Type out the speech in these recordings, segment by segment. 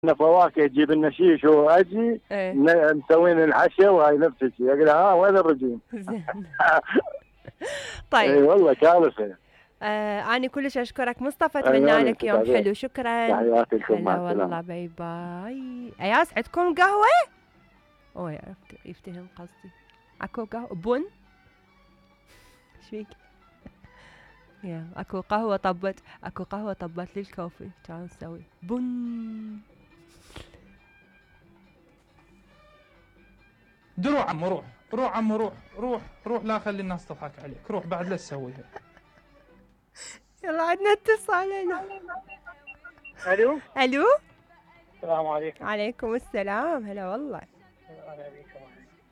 لنا فواكه تجيب لنا شيش واجي ايه مسوين العشاء وهاي نفس الشيء. اقول لها ها وين الرجيم؟ زين. اي طيب. والله كارثه. أنا كلش أشكرك مصطفى، أتمنى أيوة لك يوم حلو. شكرا. تحياتي لكم، مع هلا والله، السلامه. باي باي. أياس عندكم قهوة؟ أوه يفتهم قصدي. أكو قهوة بن؟ ايش فيك؟ يا أكو قهوة طبت، أكو قهوة طبت لي الكوفي، تعال نسوي بن. روح عمو روح، روح عمو روح، روح لا خلي الناس تضحك عليك، روح بعد لا تسويها. يلا عندنا اتصال. الو الو. السلام عليكم. عليكم السلام، هلا والله. اهلا بكم.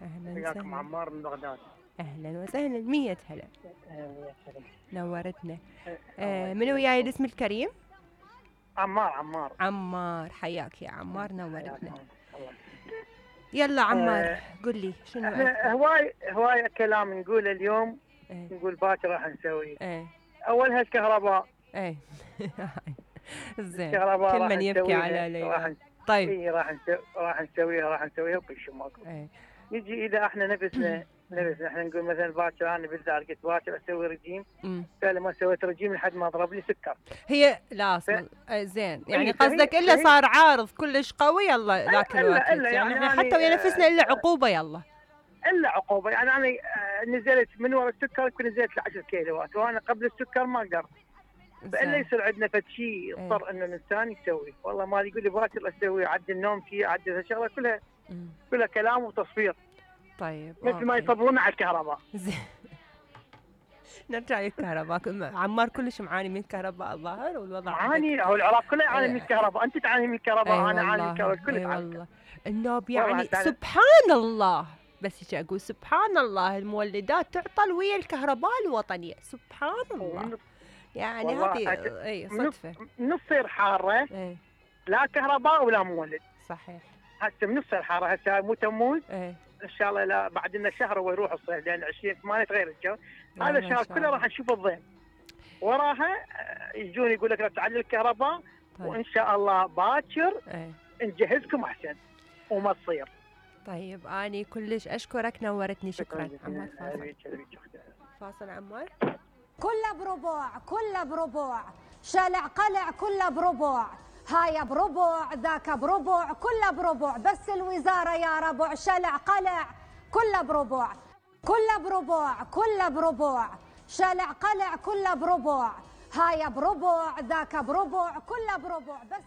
اهلا وياكم وسهلا. عمار من بغداد. اهلا وسهلا، 100 هلا. أهلا وسهلا. نورتنا. من وياي الاسم الكريم؟ عمار. عمار، حياك يا عمار، نورتنا. الله. يلا عمار قل لي شنو احنا هواي كلام نقوله اليوم. نقول باكر راح نسوي. اولها الكهرباء. زين. الكهرباء كل من يبكي على ليلى. طيب. اي راح نسويها وكل شيء ماكو. نجي اذا احنا نفسنا احنا نقول مثلا باكر، انا بالذات قلت باكر اسوي رجيم. قال ما سويت رجيم لحد ما ضرب لي سكر. هي لا زين، يعني قصدك الا صار عارض كلش قوي يلا ذاك الوقت. يعني حتى ويا نفسنا الا عقوبه يلا. الا عقوبه، يعني انا نزلت من ورا السكر، كنت نزلت ل 10 كيلوات وانا قبل السكر ما قدرت. فالا يصير عندنا فد شيء يضطر انه الانسان يسوي. والله ما يقول لي باكر اسوي عدل نومتي، عدل هالشغله كلها كلام وتصفير. طيب مثل ما يصبرون على الكهرباء. زين. نرجع للكهرباء. عمار كلش معاني من الكهرباء الظاهر، والوضع معاني. هو العراق كله يعاني من الكهرباء، انت تعاني من الكهرباء، انا اعاني من الكهرباء، الكل يعاني. والله النوب يعني سبحان الله، بس هيك اقول سبحان الله، المولدات تعطل ويا الكهرباء الوطنيه، سبحان الله. يعني هذه صدفه. من تصير حاره لا كهرباء ولا مولد. صحيح. هسه من تصير حاره، هسه مو تموز ان شاء الله، لا بعد لنا شهر ويروح الصيف، لان 20/8 تغير الجو. هذا الشهر كله راح نشوف الضيم، وراها يجون يقول لك لا تعلل الكهرباء. وان شاء الله باكر نجهزكم احسن وما تصير. طيب اني كلش اشكرك، نورتني. شكرا عمار. فاصل عمار. كله بربع شلع قلع، كله بربع، هاي بربع ذاك بربع، كله بربع، بس الوزارة يا ربع شلع قلع، كله بربع، كله بربع، شلع قلع كله بربع، هاي بربع ذاك بربع، كله بربع، بس